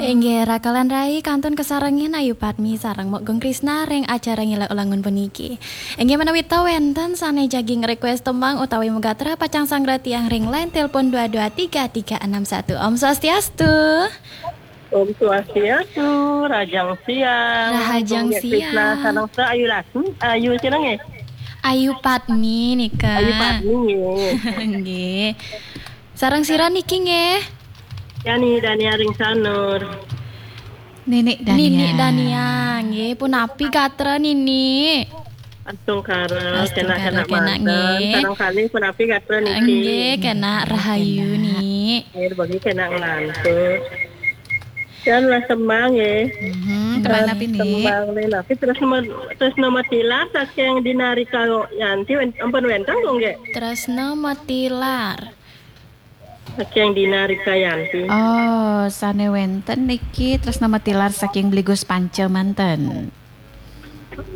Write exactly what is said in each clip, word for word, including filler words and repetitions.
Inggih, rakalan rai kantun kasarengin Ayu Padmi sareng Mok Gung Krisna ring acara Ngiler Ulangun puniki. Inggih, menawi ta wenten sane jagi request tembang utawi magatra pacang sanggra tiang ring line telepon dua dua tiga tiga enam satu. Om Swastiastu. Om Swastiastu, Rahajeng Siang. Rahajeng Gung Siang. Krisna sareng Sri Ayu Lasmi, Ayu sira nggih? Ayu Padmi nika. Ayu Padmi nggih. Nggih. Sareng sira niki nggih? Yani Dania ring Sanur. Ninik Dania. Ninik Dania, nggih. Punapi gatra Ninik? Astungkara, astungkara kenak-kenak kenak manten. Nggih. Sareng kalih punapi gatra niki? Nggih, kenak rahayu, kenak. Nik. Nggih, bagi kenak nglantur. Dan lah tembang nggih. Mhm, tembang napi, Nik? Tembang nih, napi Tresna, Tresna Matilar saking Dina Rika Yanti wen-, ampun wenten kok nggih? Tresna Matilar. Saking Dina Rika Yanti. Oh, sane wenten niki Tresna Matilar saking Bligus Panca manten.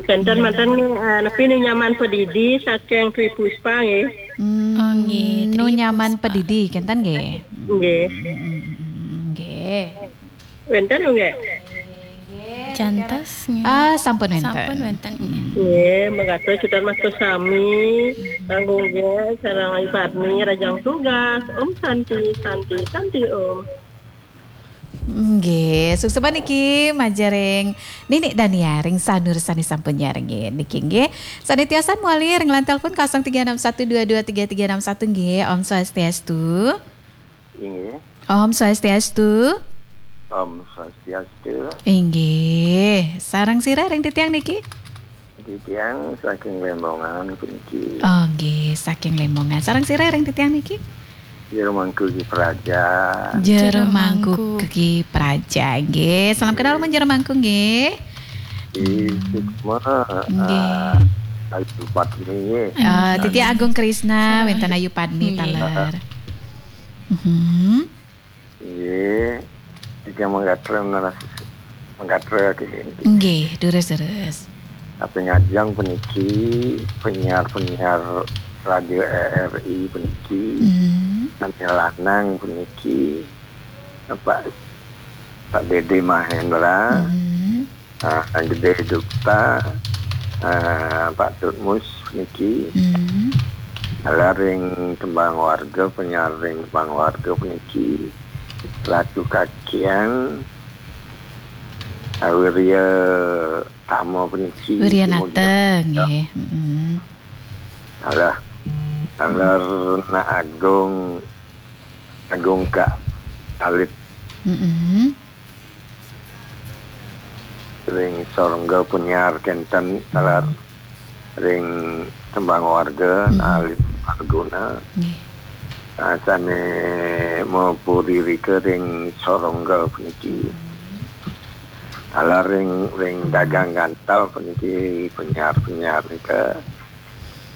Wenten manten, eh, napi Nu Nyaman Pedidi saking Tri Puspa nggih. Hmm, oh, nggih, Nu Tri Nyaman Puspa. Pedidi, kenten nggih? Nggih. Hmm, nggih. Wenten nggih? Jantos nggih. Ah, sampun wenten. Sampun wenten nggih. Nggih, mekaten sutan mas sami. Kanggo nggih, sareng Ibu Padmi, Rahajeng tugas. Om Santi, Santi, Santi Om. Nggih, suksma niki majeng ring Ninik Dania ring Sanur sane sampun nyarengin niki nggih. Sane tiosan mawali ring line telepon kosong tiga enam satu dua dua tiga tiga enam satu nggih. Om Swastiastu. Inggih. Om Swastiastu. Om Swastiastu. Inggih. Sareng sira ring titiang niki? Titiang saking Lembongan puniki. Oh, nggih, saking Lembongan. Sareng sira ring titiang niki? Jero Mangku Ki Praja. Jero Mangku Ki Praja, nggih. Salam kenal, Jero Mangku, nggih. Di Sukma, nggih. Ah, Ayu Padmi, nggih. Ah, titiang Agung Krisna, wenten Ayu Padmi, nggih, taler. Mhm. Nggih, tiga manggatra naras, manggatra, nggih. Nggih, durus, durus. Tapi ngajeng puniki, penyiar-penyiar radio R R I puniki, hmm, sami lanang puniki, Pak, Pak Dede Mahendra, hmm, ah, Gede Dukta, ah, Pak Tutmus niki. Hmm. Taler ring tembang warga, penyiar ring tembang warga puniki. Ratu Kakian, ah, Wirya Tama puniki. Wirya Nata, nggih. Mm-mm. Alah, taler Nak Agung, Agung Kak Alit. Mm-mm. Ring Sorengga Punjar kenten, taler ring tembang warga, hmm, Alit Marguna. Nggih. Ah, sane mapuririka ring Sorengga puniki. Taler ring, ring Dagang Gantal puniki, penyiar-penyiar nika.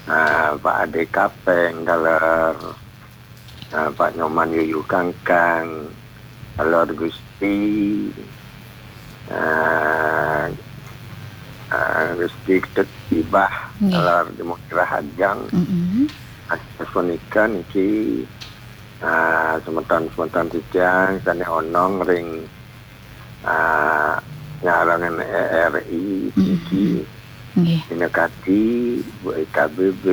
Ah, Pak Ade Kapeng, taler. Ah, Pak Nyoman Yuyu Kangkang, Lor Gusti, ah, ah, Gusti Ketut Ibah, nggih, Lor Jemuk Rahajang. Mm-mm. Asapunika niki, ah, semeton-semeton titiang sane onong ring, ah, nyarengan R R I, mm-mm, niki. Nggih. Pinakati, Bu E K B B,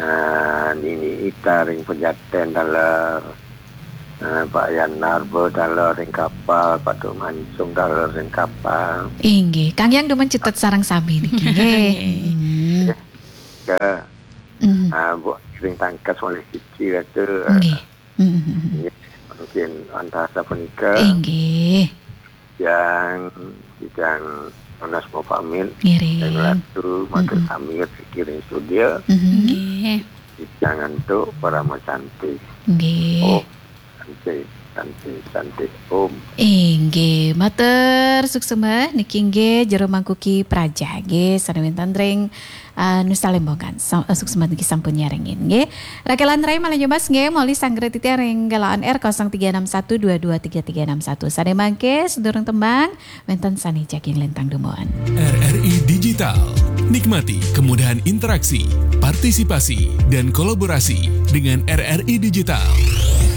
ah, Nini Ita ring Pejaten taler, ah, Pak Yan Narba taler ring Kapal, Pak Duk Mansung taler ring Kapal. Inggih, Kang Yang dumun cutet sareng sami niki, nggih. Nggih. Hmm. Ke, hmm, ah, Bu ring Tangkas malih siji ratu. Nggih. Hmm. Nggih, mungkin antara sapunika. Inggih. Yang, yang Onas mau pamit. Ngiring. Yang ratu, matur, hmm, pamit, kiring studio. Hmm. Nggih. Yang antuk, parama cantik. Nggih. Oh, cantik, cantik, cantik. Om. Inggih, matur suksma niki nggih Jero Mangku Ki Praja nggih, sane wenten ring, ah, Nusa Lembongan. Sa-, suksma niki sampun nyarengin nggih. Rakelan rai malih nyebas nggih, moli sanggra titiang ring galah on air kosong tiga enam satu dua dua tiga tiga enam satu. Sane mangke sedurung tembang, wenten sane jagi nglintang dumun. R R I Digital. Nikmati kemudahan interaksi, partisipasi, dan kolaborasi dengan R R I Digital.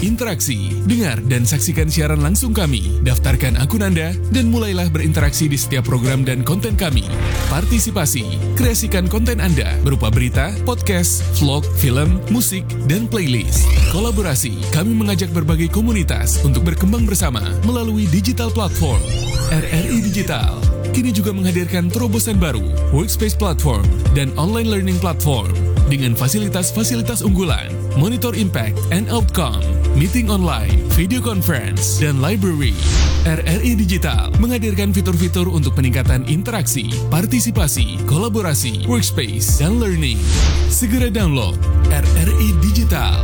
Interaksi, dengar dan saksikan siaran langsung kami. Daftarkan akun Anda dan mulailah berinteraksi di setiap program dan konten kami. Partisipasi, kreasikan konten Anda berupa berita, podcast, vlog, film, musik, dan playlist. Kolaborasi, kami mengajak berbagai komunitas untuk berkembang bersama melalui digital platform. R R I Digital kini juga menghadirkan terobosan baru, Workspace Platform dan Online Learning Platform dengan fasilitas-fasilitas unggulan, monitor impact and outcome, meeting online, video conference, dan library. R R I Digital menghadirkan fitur-fitur untuk peningkatan interaksi, partisipasi, kolaborasi, workspace, dan learning. Segera download R R I Digital.